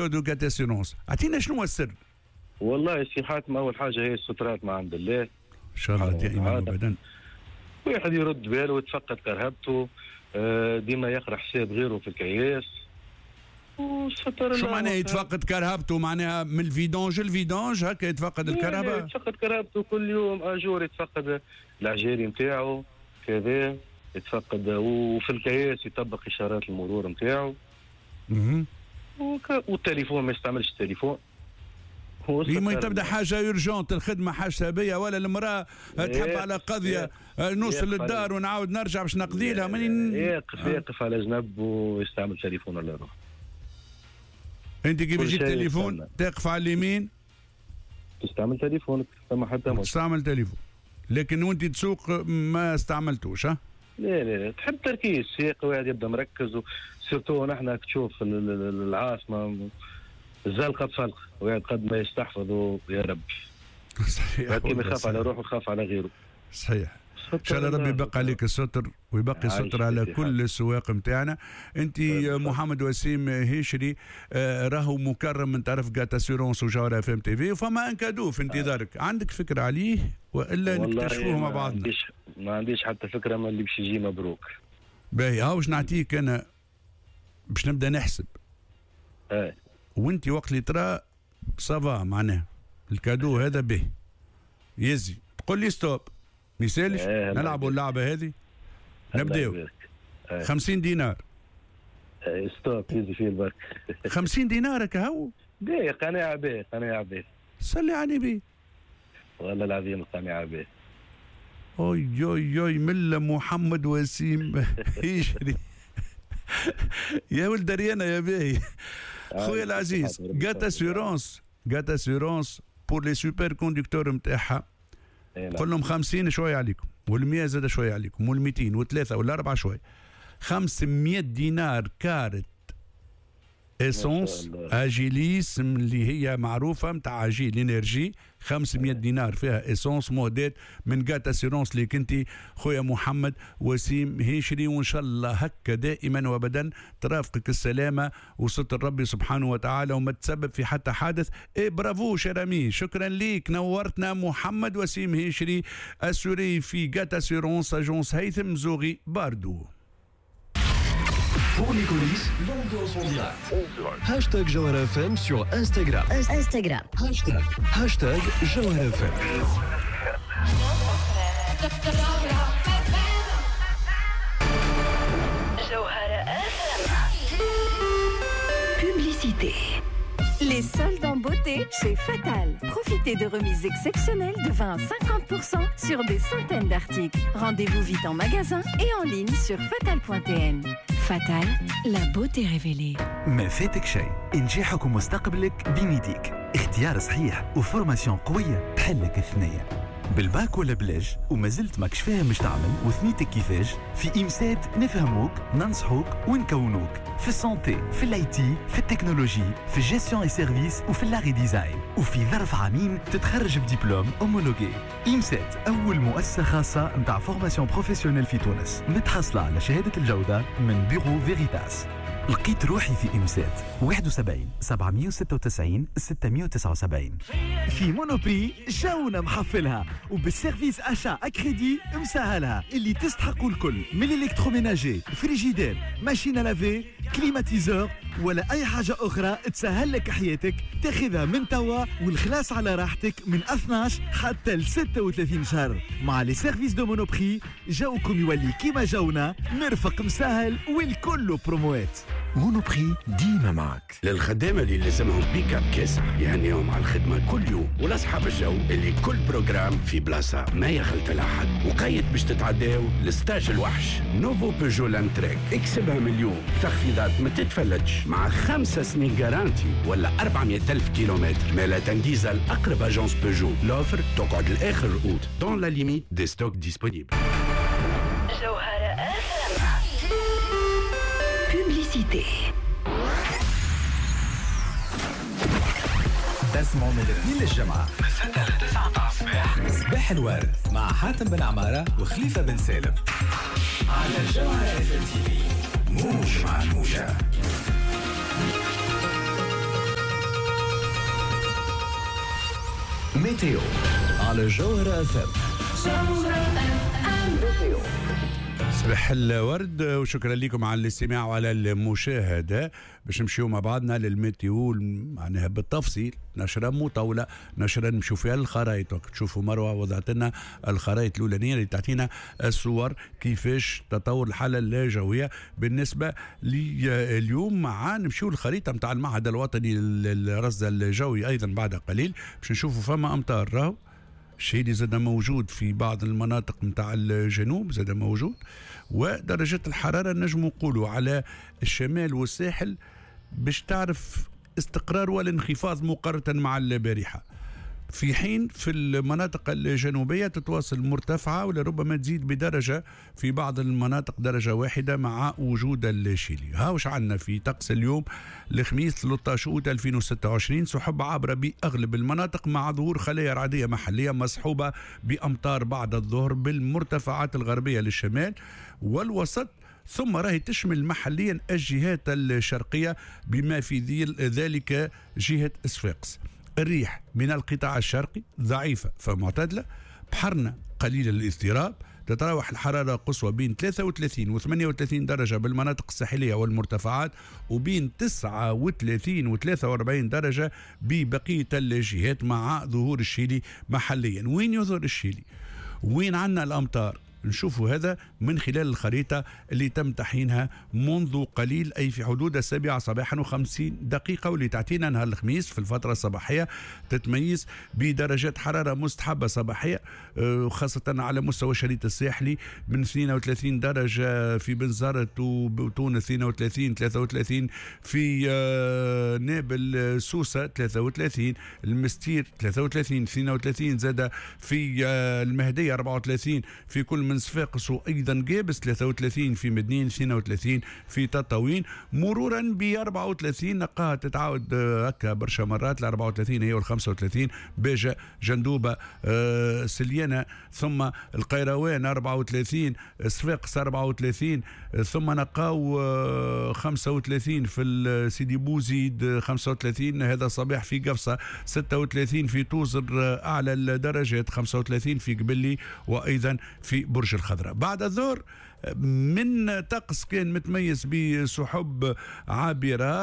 de GAT Assurances، اعطينا شنو هو السر؟ والله سي حاتم، اول حاجة هي السترات ما عند الله، ان شاء الله دائما وابدا. واحد يرد باله ويتفقد كرهبته، ديما يقرا حساب غيره في الكياس. شو معناها يتفقد كرهبته؟ معناها من ال vidange لل vidange هكا يتفقد الكرهبه؟ يتفقد كرهبته كل يوم à jour، يتفقد العجالي نتاعو كذا، يتفقد وفي الكياس يطبق اشارات المرور نتاعو. والتليفون ما يستعملش التليفون. لما تبدا حاجة urgente، الخدمة حاجة بيا ولا المراة تحب على قضية، نوصل للدار ونعاود نرجع باش نقضي لها. يقف على جنب ويستعمل تليفون ولا روح. انت كيف يجيك تليفون تقف على اليمين تستعمل تليفونك، ثم حتى تستعمل تليفون، لكن وانت تسوق ما استعملتوش. ها لا لا لا، تحب تركيز، سياق واحد يبدا مركز، surtout نحن تشوف العاصمة الزلقه بفلقه، واحد قد ما يستحفظ يا رب. صحيح، كيما يخاف على روحه يخاف على غيره. صحيح، ان شاء الله ربي يبقى عليك الستر ويبقي الستر على كل السواق نتاعنا. انت محمد وسيم هيشري راهو مكرم من طرف GAT Assurances وجوهرة FM TV، وفما un cadeau في انتظارك. عندك فكرة عليه والا نكتشفوه مع بعضنا؟ ما عنديش حتى فكرة، ما اللي باش يجي مبروك. باهي، هاو باش نعطيك انا باش نبدا نحسب. وانت وقت اللي ترى ça va معناه ال cadeau هذا به يزي تقول لي stop، ما يسالش. نلعبوا اللعبة هذه، نبداو. 50 دينار. stop يزي فيه البرك. 50 دينار كهو؟ باهي، قناعة باهي، قناعة باهي. صلي على النبي. والله العظيم قناعة باهي. اوي اوي اوي، ملا محمد وسيم يجري يا ولد ريانا يا باهي. خويا العزيز، GAT Assurances، GAT Assurances pour les super conducteurs نتاعها، قول لهم 50 شوية عليكم، وال100 زاد شوية عليكم، وال200 وثلاثة والاربعة شوية. 500 دينار carte essence Agilis اللي هي معروفة نتاع Agil Energy، 500 دينار فيها essence مهدات من GAT Assurances اللي كنتي خويا محمد وسيم هيشري. وان شاء الله هكا دائما وابدا ترافقك السلامة وستر ربي سبحانه وتعالى وما تسبب في حتى حادث. et bravo cher ami، شكرا ليك، نورتنا محمد وسيم هيشري assuré في GAT Assurances agence هيثم زوغي باردو. Pour les coulisses, l'ambiance en direct. Hashtag Jawhara FM sur Instagram. Instagram. Hashtag Jawhara FM. Jawhara FM. Publicité. Les soldes en beauté chez Fatal. Profitez de remises exceptionnelles de 20 à 50% sur des centaines d'articles. Rendez-vous vite en magasin et en ligne sur fatal.tn. Fatal, la beauté révélée. ما فاتك شيء، نجاحك ومستقبلك بين يديك. اختيار صحيح و formation قوية تحلك الثنية. بالباك ولا بلاش وما زلت ماكش فاهم مش تعمل وثنيتك كيفاش، في IMSET نفهموك، ننصحوك ونكونوك في ال santé، في ال IT، في التكنولوجي، في ال gestion et services، وفي l'art et design. وفي ظرف عامين تتخرج ب diplôme homologué. IMSET اول مؤسسة خاصة نتاع formation professionnelle في تونس، متحصله على شهادة الجودة من Bureau Veritas. لقيت روحي في IMSET. 71 796 679. في Monoprix جونا محفلها، وبال service achat à crédit مسهلها، اللي تستحقوا الكل من ال électroménager، frigidaire، machine à laver، climatiseur ولا اي حاجة اخرى تسهل لك حياتك، تاخذها من توا والخلاص على راحتك من 12 حتى ل 36 شهر. مع les services de Monoprix جوكم يولي كيما جونا، مرفق مسهل والكل بروموات. Monoprix ديما معك. للخدامة اللي لازمهم بيك اب كاسح يهنيهم على الخدمة كل يوم، ولأصحاب الجو اللي كل programme في بلاصة ما يخلط لها حد، وقيت باش تتعداو ل stage الوحش nouveau Peugeot Landtrek. اكسبها مليون تخفيضات ما تتفلتش مع 5 سنين garantie ولا 400,000 كيلومتر. مالا تنجيزة لأقرب agence Peugeot. L'offre تقعد لآخر أوت dans la limite des stocks disponibles. جوهرة FM. Publicité. تسمعوا من الاثنين للجمعة من 6 ل 9 متاع الصباح، صباح الورد مع حاتم بن عمارة وخليفة بن سالم على جوهرة FM TV. موج مع الموجة. météo على جوهرة FM. صباح الورد وشكرا لكم على الاستماع وعلى المشاهدة. باش نمشيو مع بعضنا لل météo معناها بالتفصيل، نشرة مطولة، نشرة نمشيو فيها الخرائط. تشوفوا مروة وضعت لنا الخرائط الأولانية اللي تعطينا الصور كيفاش تطور الحالة الجوية بالنسبة لليوم. مع نمشيو الخريطة نتاع المعهد الوطني للرصد الجوي أيضا بعد قليل باش نشوفوا فما أمطار. راهو الشيء اللي زاد موجود في بعض المناطق نتاع الجنوب زاد موجود، ودرجة الحرارة نجم نقولوا على الشمال والساحل باش تعرف استقرار والانخفاض مقارنة مع البارحة، في حين في المناطق الجنوبية تتواصل مرتفعة ولربما تزيد بدرجة في بعض المناطق درجة واحدة مع وجود الشيلي. هاوش عندنا في طقس اليوم الخميس 13 أوت 2026، سحب عابرة بأغلب المناطق مع ظهور خلايا رعدية محلية مصحوبة بأمطار بعد الظهر بالمرتفعات الغربية للشمال والوسط، ثم راهي تشمل محليا الجهات الشرقية بما في ذلك جهة صفاقس. الريح من القطاع الشرقي ضعيفة فمعتدلة، بحرنا قليل الاضطراب، تتراوح الحرارة قصوى بين 33 و 38 درجة بالمناطق الساحلية والمرتفعات، وبين 39 و 43 درجة ببقية الجهات مع ظهور الشيلي محليا. وين يظهر الشيلي؟ وين عندنا الأمطار؟ نشوفوا هذا من خلال الخريطة اللي تم تحيينها منذ قليل، أي في حدود 7 صباحا و50 دقيقة، واللي تعطينا نهار الخميس في الفترة الصباحية تتميز بدرجات حرارة مستحبة صباحية، خاصة على مستوى الشريط الساحلي من 32 درجة في بنزرت وتونس، 32 33 في نابل سوسة، 33 المستير، 33 32 زاد في المهدية، 34 في كل من صفاقس وايضا جابس، 33 في مدنين، 32 في تطاوين، مرورا ب 34 نلقاها تتعاود هكا برشا مرات، ال 34 هي وال 35 باجة جندوبة سليانة، ثم القيروان 34، صفاقس 34، ثم نلقاو 35 في سيدي بوزيد، 35 هذا صباح في قفصة، 36 في توزر اعلى الدرجات، 35 في قبلي وايضا في برج الخضراء. بعد الظهر من طقس كان متميز بسحب عابرة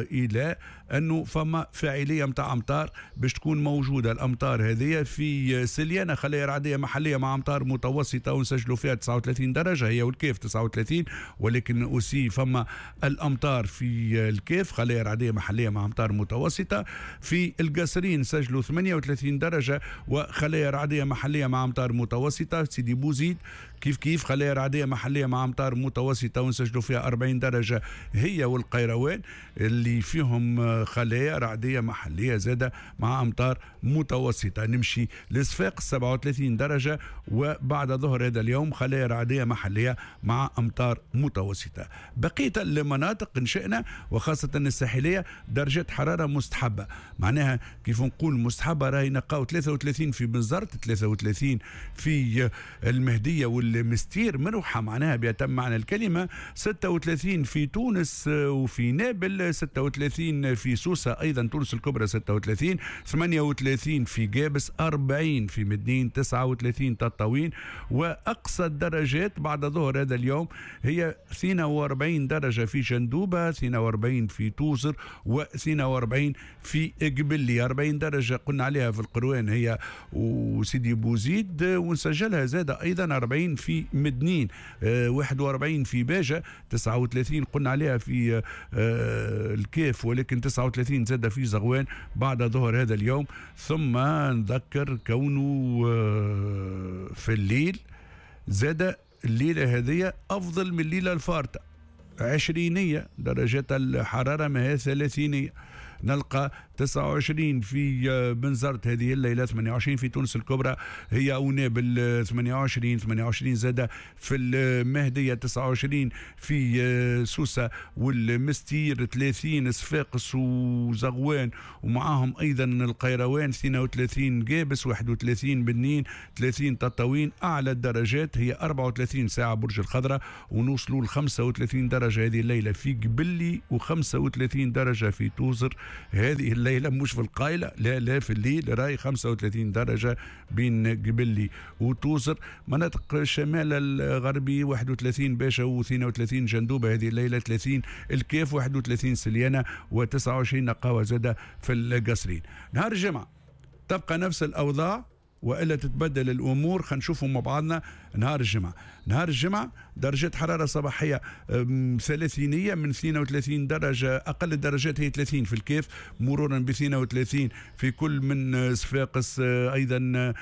إلى أنه فما فاعلية متاع أمطار باش تكون موجودة. الأمطار هذه في سليانة خلايا رعدية محلية مع أمطار متوسطة ونسجلوا فيها 39 درجة هي والكيف 39، ولكن aussi فما الأمطار في الكيف خلايا رعدية محلية مع أمطار متوسطة. في القصرين سجلوا 38 درجة وخلايا رعدية محلية مع أمطار متوسطة. سيدي بوزيد كيف كيف خلايا رعدية محلية مع أمطار متوسطة ونسجلوا فيها 40 درجة هي والقيروان اللي فيهم خلايا رعدية محلية زادة مع أمطار متوسطة. نمشي لصفاقس 37 درجة وبعد ظهر هذا اليوم خلايا رعدية محلية مع أمطار متوسطة. بقية المناطق نشأنا وخاصة الساحلية درجة حرارة مستحبة، معناها كيف نقول مستحبة راهي نلقاو 33 في بنزرت، 33 في المهدية والمستير مروحة معناها بأتم معنى الكلمة، 36 في تونس وفي نابل، 36 في سوسة أيضا تونس الكبرى 36، 38 في جابس، 40 في مدنين، 39 تطاوين. وأقصى الدرجات بعد ظهر هذا اليوم هي 42 درجة في جندوبة، 42 في توزر، و42 في قبلي، 40 درجة قلنا عليها في القروان هي وسيدي بوزيد، ونسجلها زادة أيضا 40 في مدنين، 41 في باجة، 39 قلنا عليها في الكاف، ولكن 39 زاد في زغوان بعد ظهر هذا اليوم. ثم نذكر كونه في الليل زاد الليلة هذه أفضل من الليلة الفارطة، 20 درجة الحرارة ما هي 30، نلقى 29 في بنزرت هذه الليلة، 28 في تونس الكبرى هي ونابل 28، 28 زادة في المهدية، 29 في سوسة والمستير، 30 صفاقس وزغوان ومعاهم أيضا القيروان، 32 جابس، 31 بنين، 30 تطاوين. أعلى الدرجات هي 34 ساعة برج الخضراء، ونوصلوا ل 35 درجة هذه الليلة في قبلي، و35 درجة في توزر. هذه الليلة، مش في القايلة، لا لا في الليل راي 35 درجة بين قبلي وتوزر. مناطق الشمال الغربي 31 باشا و32 جندوبة هذه الليلة، 30 الكاف، 31 سليانة، و29 نقاوة زادة في القصرين. نهار الجمعة تبقى نفس الأوضاع وإلا تتبدل الأمور؟ خلينا نشوفوا مع بعضنا نهار الجمعة. نهار الجمعة درجات حرارة صباحية ثلاثينية من 32 درجة، أقل الدرجات هي 30 في الكاف، مرورا ب 32 في كل من صفاقس، أيضا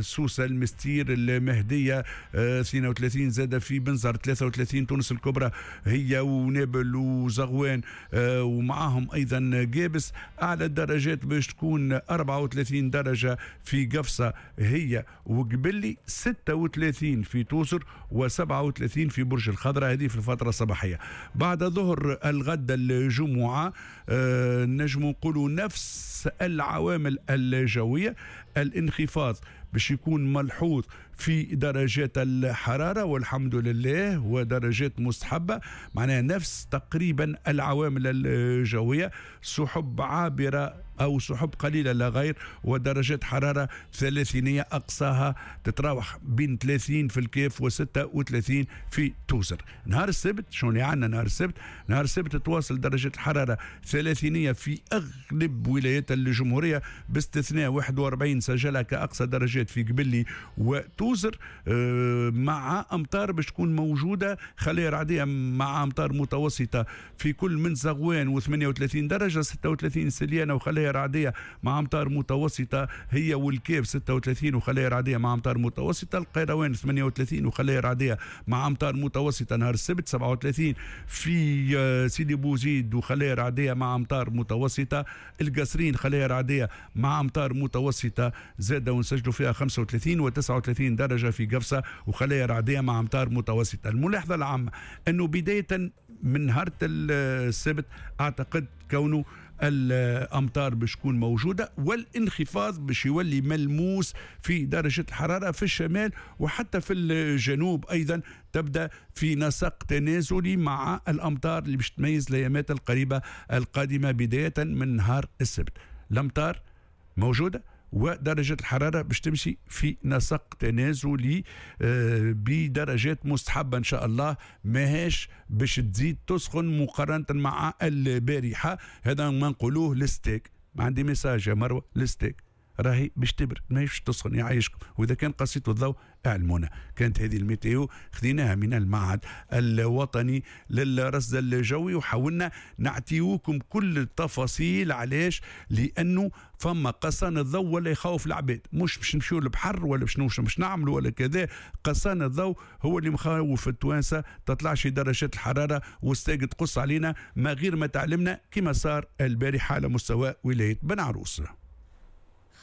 سوسة، المستير، المهدية، 32 زاد في بنزر، 33 تونس الكبرى هي ونابل وزغوان ومعاهم أيضا قابس. أعلى الدرجات باش تكون 34 درجة في قفصة هي وقبلي، 36 في توزر، و37 في برج الخضراء، هذه في الفترة الصباحية. بعد ظهر الغد الجمعة نجم نقولوا نفس العوامل الجوية، الانخفاض باش يكون ملحوظ في درجات الحرارة والحمد لله، ودرجات مستحبة، معناها نفس تقريبا العوامل الجوية، سحب عابرة أو سحب قليلة لا غير، ودرجات حرارة ثلاثينية أقصاها تتراوح بين 30 في الكاف و36 في توزر. نهار السبت شنو اللي عندنا نهار السبت؟ نهار السبت تواصل درجة الحرارة ثلاثينية في أغلب ولايات الجمهورية باستثناء 41 سجلها كأقصى درجات في قبلي وتوزر، مع أمطار باش تكون موجودة، خلايا رعدية مع أمطار متوسطة في كل من زغوان و38 درجة، 36 سليانة وخلايا رعدية مع أمطار متوسطة هي والكاف 36 وخلايا رعدية مع أمطار متوسطة، القيروان 38 وخلايا رعدية مع أمطار متوسطة نهار السبت، 37 في سيدي بوزيد وخلايا رعدية مع أمطار متوسطة، القصرين خلايا رعدية مع أمطار متوسطة زادة ونسجلوا فيها 35 و39 درجة في قفصة وخلايا رعدية مع أمطار متوسطة. الملاحظة العامة أنه بداية من نهار السبت أعتقد كونه الأمطار باش تكون موجودة والانخفاض باش يولي ملموس في درجة الحرارة في الشمال وحتى في الجنوب أيضا، تبدأ في نسق تنازلي مع الأمطار اللي باش تميز الأيامات القريبة القادمة بداية من نهار السبت. الأمطار موجودة ودرجة الحرارة باش تمشي في نسق تنازلي بدرجات مستحبة إن شاء الله، ماهيش باش تزيد تسخن مقارنة مع البارحة. هذا ما نقولوه ال STEG. ما عندي message يا مروة، ال STEG راهي باش تبرد ماهيش تسخن، يعيشكم. وإذا كان قصيتوا الضوء اعلمونا. كانت هذه ال météo خذيناها من المعهد الوطني للرصد الجوي، وحاولنا نعطيوكم كل التفاصيل. علاش؟ لأنه فما قصان الضوء ولا يخوف العباد، مش باش نمشيو للبحر ولا باش نعملوا ولا كذا. قصان الضوء هو اللي مخوف التوانسة، تطلعش درجات الحرارة والستاج تقص علينا ما غير ما تعلمنا كما صار البارحة على مستوى ولاية بن عروس.